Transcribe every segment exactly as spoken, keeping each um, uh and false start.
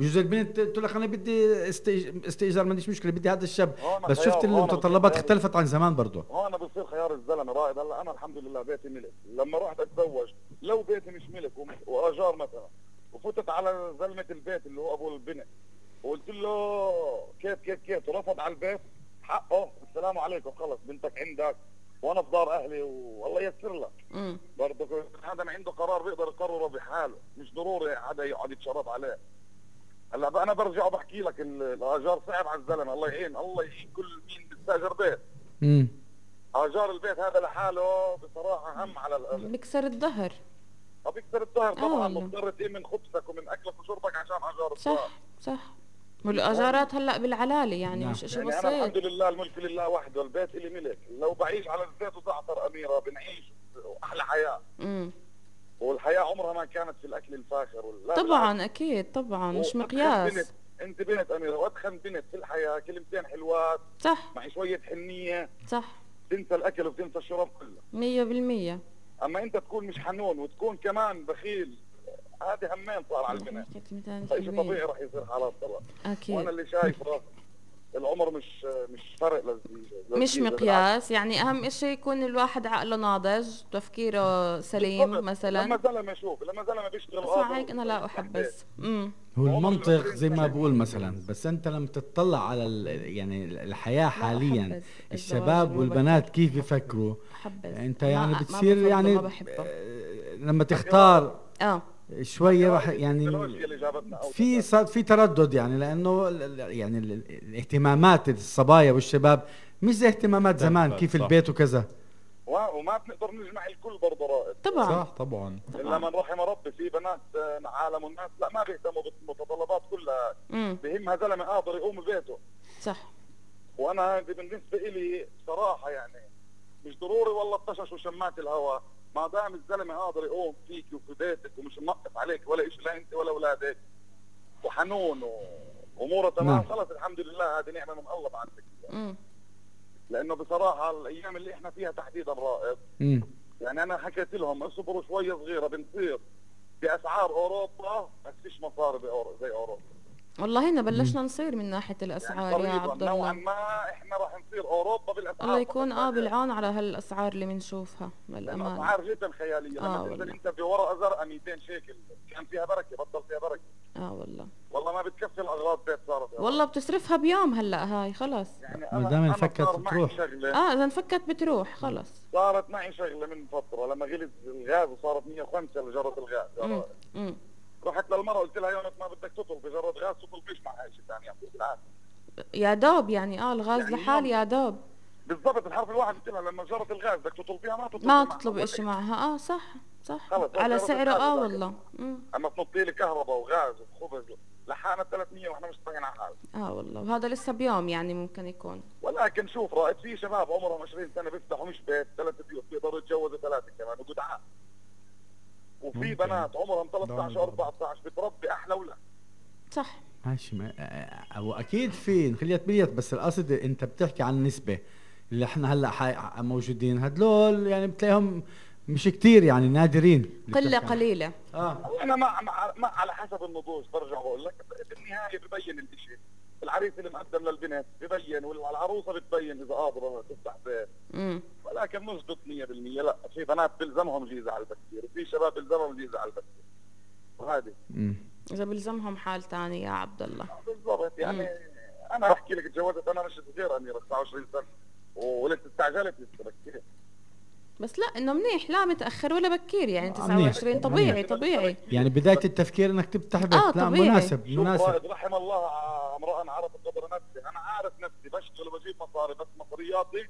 بجوز البنت تقول لك انا بدي استئج- استئجار، ما عنديش مشكله، بدي هذا الشاب. هون بس شفت خيار- هون المتطلبات بصير اختلفت عن زمان برضه. هون بصير خيار الزلمه رائد. هلا انا الحمد لله بيتي ملك، لما رحت اتزوج لو بيتي مش ملك وم- واجار مثلا، وفتت على زلمه البيت اللي هو ابو البنت وقلت له كيف كيف كيف ورفض على البيت، حقه السلام عليكم خلص بنتك عندك وانا في دار اهلي والله ييسر لك. امم برضه هذا ما عنده قرار بيقدر يقرره بحاله، مش ضروري حدا يقعد يتشرط عليه. هلا بقى انا برجع وبحكي لك ال- الاجار صعب على الزلمه، الله يعين الله يعين كل مين بيستاجر بيت. امم اجار البيت هذا لحاله بصراحه هم على الاهل. بكسر الظهر. طب يكسر الظهر طبعا، والله. مضطر تقيم من خبزك ومن اكلك وشربك عشان اجار الدار. صح صح. والاجارات هلا بالعلالة يعني نعم. مش اشي يعني انا بسيط. الحمد لله الملك لله وحده، البيت الي ملك، لو بعيش على الزيت وزعتر اميره بنعيش احلى حياه. امم والحياه عمرها ما كانت في الاكل الفاخر ولا طبعا اكيد طبعا مش وأدخن مقياس. بنت، انت بنت اميره وادخن بنت في الحياه كلمتين حلوات صح مع شويه حنيه صح تنسى الاكل وتنسى الشرب كله. مية بالمية. اما انت تكون مش حنون وتكون كمان بخيل، هذه همين صار على البنت، كلمتين فشيء حلوين. طبيعي راح يصير حالات طلاق. وانا اكيد اللي شايفه العمر مش مش فرق للزيجة مش مقياس، يعني اهم اشي يكون الواحد عقله ناضج، تفكيره سليم مثلا. لما زلمه شوف لما زلمه بيشتغل اسمع هيك انا لا احبس. امم هو عمر المنطق العشرين زي ما سنة. بقول مثلا، بس انت لما تطلع على ال- يعني الحياه حاليا، أحبذ الشباب الزواج والبنات المبكر. كيف بيفكروا، احبذ. انت ما- يعني ما بتصير بفضله، يعني ما بحبه. آه، لما تختار اه شويه راح يعني التكنولوجيا اللي جابتنا أوسع. في صار في تردد، يعني لانه ال- ال- يعني ال- ال- الاهتمامات الصبايا والشباب مش زي اهتمامات زمان، اختلفت، كيف صح. البيت وكذا. و- وما بنقدر نجمع الكل برضه رائد. طبعا صح طبعا. الا من رحم ربي، في بنات آه، عالم الناس لا ما بيهتموا بالمتطلبات كلها، امم بهمها زلمه قادر يقوم ببيته. صح. وانا هذه بالنسبه لي صراحه يعني مش ضروري والله الطشش وشمات الهواء، ما دام الزلمه قادر يقوم فيك وفي بيتك ومش منقص عليك ولا شيء لا انت ولا اولادك وحنون واموره تمام، نعم. خلص الحمد لله هذه نعمه من الله بعدك. امم لانه بصراحه الايام اللي احنا فيها تحديدا رائد، امم يعني انا حكيت لهم اصبروا شويه صغيره بنصير باسعار اوروبا بس فيش مصاري بأورو- زي اوروبا. والله هنا بلشنا نصير من ناحية يعني الاسعار يا قريبا عبد نوعا الله. ما احنا راح نصير اوروبا بالاسعار. الله يكون اه فقط. بالعون على هالاسعار اللي بنشوفها للامانة. الاسعار جدا خياليه، آه لما تنزل والله. انت بورقه زرقاء مئتين شيكل كان فيها بركه بطل فيها بركه، اه والله والله ما بتكفي الاغراض بيت صارت. والله بتصرفها بيوم هلا هاي خلص. يعني ما انا دام أنا انفكت صار معي تروح. شغله اه اذا انفكت بتروح خلص. صارت معي شغله من فتره لما غلت الغاز وصارت مية وخمسة لجره الغاز. امم امم رحت للمرة قلت لها يونس ما بدك تطلب بجرة غاز تطلبيش معها شيء ثاني بالعكس. يا دوب يعني اه الغاز يعني لحال يوم- يا دوب. بالضبط الحرف الواحد قلت لها لما جرة الغاز بدك تطلبيها ما تطلبي ما معها. تطلب اشي معها اه صح صح خلص، على جرة سعره الغاز اه بتاعك. والله. امم اما تنطي لي كهرباء وغاز وخبز لحقنا ثلاثمية واحنا مش طايقين على حال. اه والله وهذا لسه بيوم يعني ممكن يكون. ولكن شوف رائد في شباب عمرهم عشرين سنة بيفتحوا مش بيت ثلاث بيوت بيقدروا يتجوزوا ثلاثة كمان وجدعان. وفي ممكن. بنات عمرهم ثلاثة عشر دعم. أربعة عشر بتربي احلى اولاد. صح ماشي، ما او اكيد في خليت بليت، بس القصد انت بتحكي عن النسبه اللي احنا هلا حي- موجودين هدول، يعني بتلاقيهم مش كتير، يعني نادرين اللي قلة بتحكي عن- قليلة. اه انا مع, مع, مع على حسب النضوج برجع بقول لك بالنهايه ببين الشيء، العريس اللي مقدم للبنت ببين والعروسه بتبين اذا قادره تفتح بيت. امم ولكن مش ضد مية بالمية، لا في بنات بلزمهم جيزه على البكير وفي شباب بلزمهم جيزه على البكير وهذه امم اذا بلزمهم حال تاني يا عبد الله. بالضبط. يعني مم. انا بحكي لك تجوزت انا مش صغير اميره تسعة وعشرين سنه ولسه استعجلت لسه بكير. بس لا انه منيح، لا متاخر ولا بكير، يعني آه، تسعة وعشرين منيح. طبيعي منيح. طبيعي. يعني بداية التفكير انك تفتح بيت، آه، لا طبيعي. مناسب شوف مناسب. رائد رحم الله امرأة عرفت قدر نفسي، انا عارف نفسي بشتغل وبجيب مصاري بس مصرياتي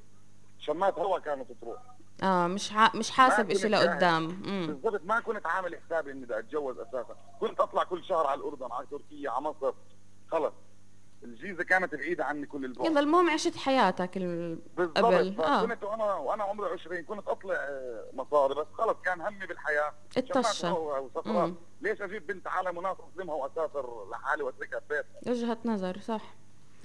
شمات هوا كانت تروح. اه مش ع... مش حاسب ما اشي كنت لقدام. امم بالضبط ما كنت عامل حسابي اني بدي اتجوز اساسا، كنت اطلع كل شهر على الاردن على تركيا على مصر، خلص الجيزه كانت بعيده عني كل البعد. يلا المهم عشت حياتك ال... بالضبط. قبل اه فكنت وانا وانا عمري عشرين كنت اطلع آه، مصاري بس خلص كان همي بالحياه الطشة. شمات هوا وسفرات. مم. ليش اجيب بنت عالم وناس اظلمها واسافر لحالي واتركها ببيت؟ وجهة نظر صح.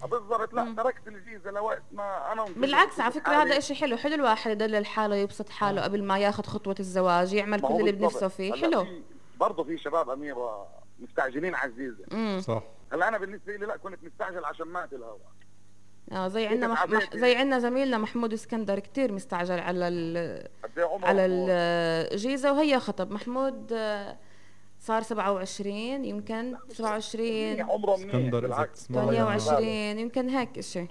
بالضبط. لا مم. تركت الجيزه لوقت ما انا بالعكس على فكرة حالي. هذا اشي حلو، حلو الواحد يدلل حاله يبسط حاله قبل ما ياخذ خطوة الزواج، يعمل ما كل هو اللي بالضبط. بنفسه فيه. هلا حلو. في- برضه في شباب اميره مستعجلين على الجيزه. امم صح. هلا انا بالنسبه لي لا، كنت مستعجل عشان مات الهوا. اه زي عندنا مح... مح... زي عندنا زميلنا محمود اسكندر كتير مستعجل على ال... على الجيزة، وهي خطب محمود آه، صار سبعة وعشرين يمكن سبعة وعشرين عمره منيح، ثمانية وعشرين يمكن هيك اشي.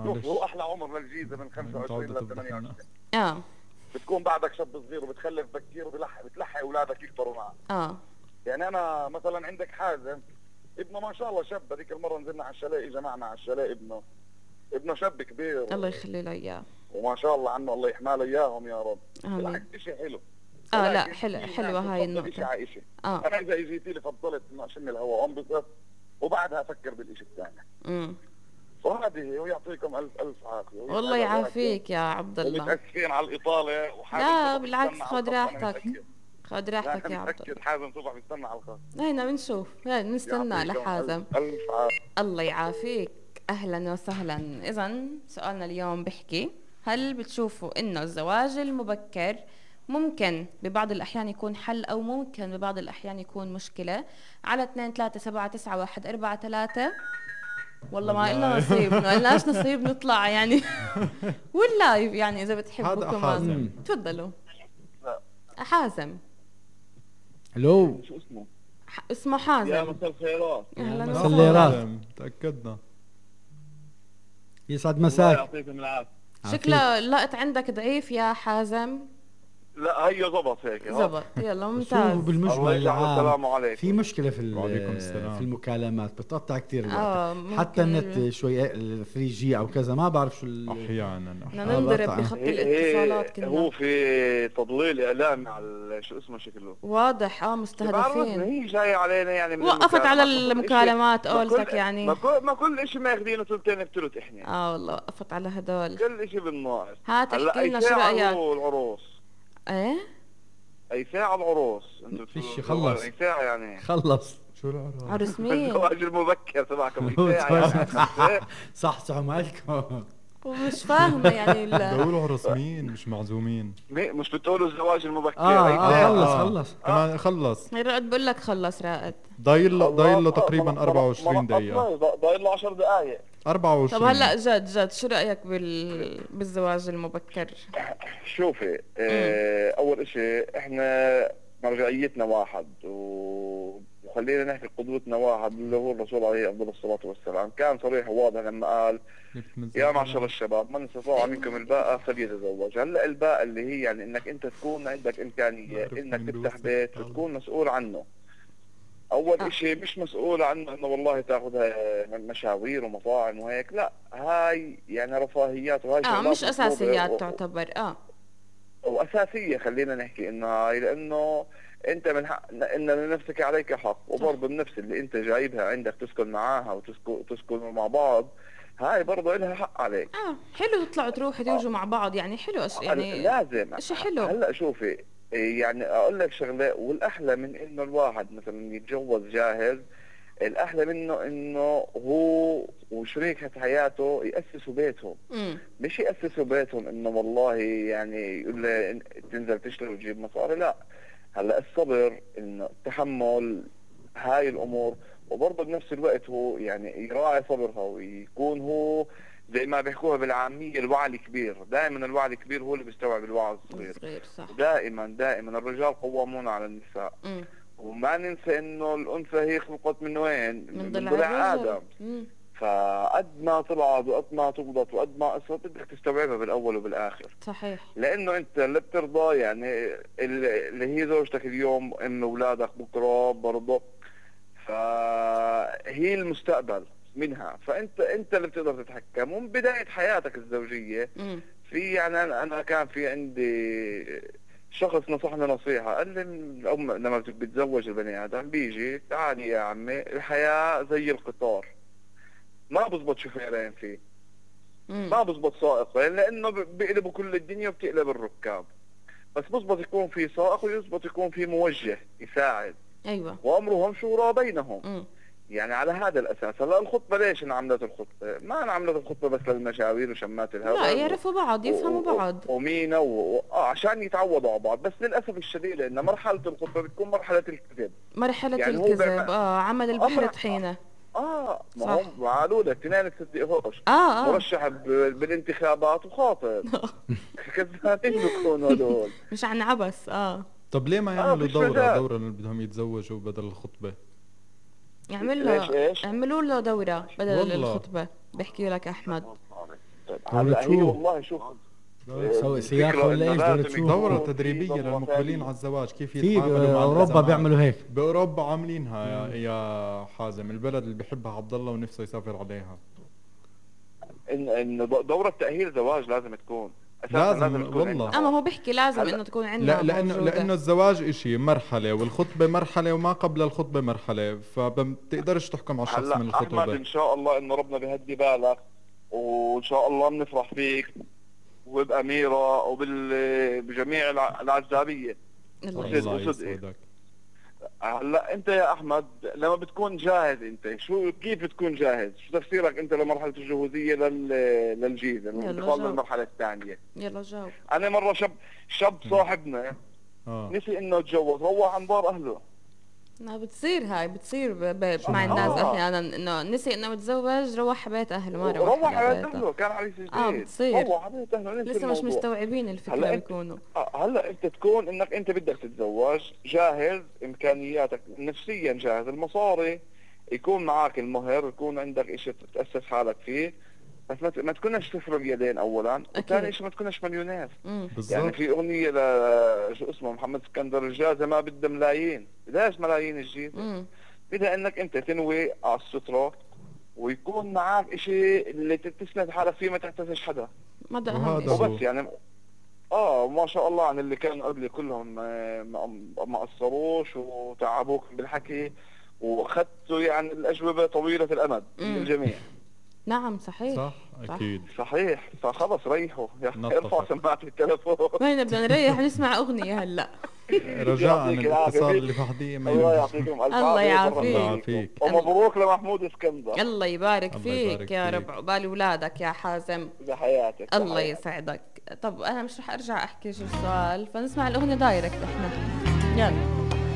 شوف هو احلى عمر للجيزة من خمسة وعشرين ل ثمانية وعشرين. اه بتكون بعدك شاب صغير وبتخلف بكير وبتلحق بتلحق اولادك يكبروا معك. اه يعني انا مثلا عندك حازم ابنه ما شاء الله شاب، هذيك المره نزلنا على الشاليه اجى معنا على الشاليه ابنه ابنه شاب كبير الله يخلي له اياه وما شاء الله عنه، الله يحمى له اياهم يا رب. امين. شيء حلو. اه لا حلو حلوه هاي النقطه. اه انا اذا اجيتي لي فضلت انه اشم الهواء انبسط وبعدها افكر بالشيء الثاني. امم وهذه هي، ويعطيكم الف الف عافيه. والله يعافيك يا عبد الله. متاسفين على الاطاله وحابب. لا بالعكس خذ راحتك خذ راحتك يا عبد الله. حازم صبح بيستنى على الخط. هينا بنشوف هينا بنستنى لحازم. الف عافيه. الله يعافيك. اهلا وسهلا. اذا سؤالنا اليوم بحكي: هل بتشوفوا انه الزواج المبكر ممكن ببعض الأحيان يكون حل أو ممكن ببعض الأحيان يكون مشكلة؟ على اثنين ثلاثة سبعة تسعة واحد أربعة ثلاثة. والله ما إلنا نصيب، ما إلناش نصيب نطلع يعني واللايف يعني إذا بتحبوا كمان تفضلوا. حازم. الو شو اسمه؟ اسمه حازم. يا مساء الخيرات. أهلا وسهلا. تأكدنا. يسعد مساك. يعطيكم العافية. شكله اللقط عندك ضعيف يا حازم. لا هي ضبط هيك. ضبط يلا ممتاز. بالمجمل السلام عليكم. في مشكله في في المكالمات بتقطع كثير الوقت، حتى النت شوي ثري جي او كذا ما بعرف شو احيانا بدنا ننضرب بخط الاتصالات كنا. هو في تضليل اعلامي على شو اسمه شكله واضح. اه مستهدفين. هي جاي علينا يعني. وقفت على المكالمات قولتك يعني. ما كل ما كل شيء ماخذينه ثلثين بثلث احنا. اه والله وقفت على هدول كل شيء بالناقص. هات احكي لنا شو رايك. العروس ايه اي ساعة العروس انتوا فيش خلص اي ساعة يعني خلص. شو العروس؟ عروس مين؟ الزواج المبكر تبعكم اي ساعة يعني. صح صح مالكم ومش فاهمة يعني. بقولوا عروس مين مش معزومين. مش بتقولوا الزواج المبكر؟ اه, آه خلص خلص كمان خلص. رائد بقول لك خلص رائد. ضايل له ضايل له تقريبا أربعة وعشرين دقيقة. ضايل له عشر دقائق. أربعة وعشرين. طب هلا جد جد شو رأيك بال... بالزواج المبكر؟ شوفي اه اول اشي احنا مرجعيتنا واحد وخلينا نحكي قدوتنا واحد اللي هو الرسول عليه افضل الصلاة والسلام. كان صريح وواضح لما قال يا معشر الشباب من استطاع منكم الباءة فليتزوج. هلا الباءة اللي هي يعني انك انت تكون عندك امكانية انك تفتح بيت وتكون مسؤول عنه. اول آه. اشي مش مسؤول عنه انه والله تاخذها مشاوير ومطاعم وهيك، لا هاي يعني رفاهيات وهاي اه مش اساسيات و... تعتبر اه واساسيه. خلينا نحكي انه هاي لانه انت من حق ان لنفسك عليك حق، وبرضه النفس اللي انت جايبها عندك تسكن معاها وتسكن تسكنوا مع بعض هاي برضه لها حق عليك. اه حلو تطلعوا تروحوا تيجوا آه. مع بعض يعني حلو أش... يعني لازم شيء حلو. هلا شوفي يعني اقول لك شغله، والاحلى من انه الواحد مثلا يتجوز جاهز، الاحلى منه انه هو وشريكة حياته ياسسوا بيتهم. مم. مش ياسسوا بيتهم انه والله يعني يقول له تنزل تشتغل وتجيب مصاري، لا. هلا الصبر، انه التحمل، هاي الامور، وبرضه بنفس الوقت هو يعني يراعي صبرها ويكون هو زي ما بيحكوها بالعامية الوعي الكبير. دائما الوعي الكبير هو اللي بيستوعب الوعي الصغير. صغير صح. دائما دائما الرجال قوامون على النساء. م. وما ننسى انه الانثى هي خلقت من وين؟ من, من ضلع ادم. فقد ما طلعت وقد ما تغلط وقد ما قصرت بدك تستوعبها بالاول وبالاخر. صحيح. لانه انت اللي بترضى يعني اللي هي زوجتك اليوم ام اولادك بكره برضه، فهي المستقبل منها. فانت انت اللي بتقدر تتحكم. ومن بدايه حياتك الزوجيه م. في يعني انا كان في عندي شخص نصحني نصيحه، قال لي الام لما بتتزوج البني ادم بيجي تعالي يا عمي الحياه زي القطار، ما بزبط شوفيرين فيه، م. ما بزبط سائقين لانه بيقلبوا كل الدنيا وبتقلب الركاب، بس بزبط يكون في سائق ويزبط يكون في موجه يساعد. ايوه. وامرهم شورى بينهم. م. يعني على هذا الاساس. هلا الخطبه ليش انعملت الخطبه؟ ما انعملت الخطبه بس للمشاوير وشمات الهواء، لا يعرفوا بعض يفهموا و... بعض ومينا و... و... آه عشان يتعودوا على بعض. بس للاسف الشديد ان مرحله الخطبه بتكون مرحله الكذب. مرحله يعني الكذب بيعمل... اه عمل البحر طحينه. اه ما صح. هم قالوا لك اثنين تصدقهوش اه اه مرشح ب- بالانتخابات وخاطر كذابين بيكونوا هدول. مش عن عبس. اه طب ليه ما آه، يعملوا فيش دورة مجال. دورة اللي بدهم يتزوجوا بدل الخطبة؟ يعمل ليش له ايش؟ اعملوا له دورة بدل والله. الخطبة. بحكي لك احمد. طيب دورة هلا هي شو؟ والله شوف سوي الفكرة سياحة ولا إنه ايش؟ لازم دورة شو؟ يكون دورة في تدريبية ضمن للمقبلين وثائقية. على الزواج، كيف في يتعاملوا مع اوروبا الأزمات. بيعملوا هيك. بأوروبا عاملينها يا, يا حازم، البلد اللي بيحبها عبد الله ونفسه يسافر عليها. ان ان دورة تأهيل زواج لازم تكون أساساً لازم، تكون والله. عندنا. اما هو بيحكي لازم هلأ- انه تكون عندنا لا لانه موجودة. لانه الزواج اشي مرحله والخطبه مرحله وما قبل الخطبه مرحله، فبتقدرش تحكم على الشخص هلا من احمد الخطبه. ان شاء الله انه ربنا بيهدي بالك وان شاء الله بنفرح فيك وبأميرة وبجميع العزابية. الله وصدق- الله وصدق. يسعدك. هلا انت يا احمد لما بتكون جاهز، انت شو كيف بتكون جاهز؟ شو تفسيرك انت لمرحله الجهوزيه لل للجيزه الانتقال جاوب. للمرحله الثانيه؟ يلا جاوب. انا مره شاب شاب صاحبنا اه نسي انه يتجوز، روح عن دار اهله. انها بتصير هاي بتصير ب... ب... مع آه. الناس احيانا انه نسي انه متزوج روح بيت اهله ما روح روح على على بيته. اهله، كان عريس جديد. اه بتصير. روح على بيت اهله ننسى لسه مش الموضوع. مستوعبين الفكرة هلا أنت- بيكونوا. آه، هلا انت تكون انك انت بدك تتزوج جاهز، امكانياتك نفسيا جاهز، المصاري يكون معك، المهر يكون عندك اشي تتاسس حالك فيه، بس ما ت- ما تكونش صفر بيدين اولا، وثاني شيء ما تكونش مليونير. امم يعني بالضبط. في اغنيه ل شو اسمه محمد اسكندر الجازة ما بدها ملايين، بدهاش ملايين الجيزه، امم بدها انك انت تنوي على الستره ويكون معك اشي اللي تسند حالك فيه ما تحتاجش حدا. ما ده اهم وهذا شيء. هو. وبس يعني اه ما شاء الله عن اللي كانوا قبلي كلهم آه، ما ما قصروش وتعبوك بالحكي واخذتوا يعني الاجوبه طويله الامد من مم. الجميع. نعم صحيح. صح اكيد. صحيح، فخلص ريحوا يا أخي، نطفت. ارفع سماعه التليفون. وين بدنا نريح نسمع اغنية هلا. رجاء يعطيك العافية. الاتصال اللي بعديه ما الله ينجح. يعطيكم الف الله عافية يعافيك. وبركاته. الله يعافيك. ومبروك لمحمود اسكندر. الله يبارك الله فيك يبارك يا فيك. رب عقبال اولادك يا حازم. بحياتك الله بحياتك. يسعدك. طب انا مش رح ارجع احكي شو السؤال، فنسمع الاغنية دايركت احنا. يلا.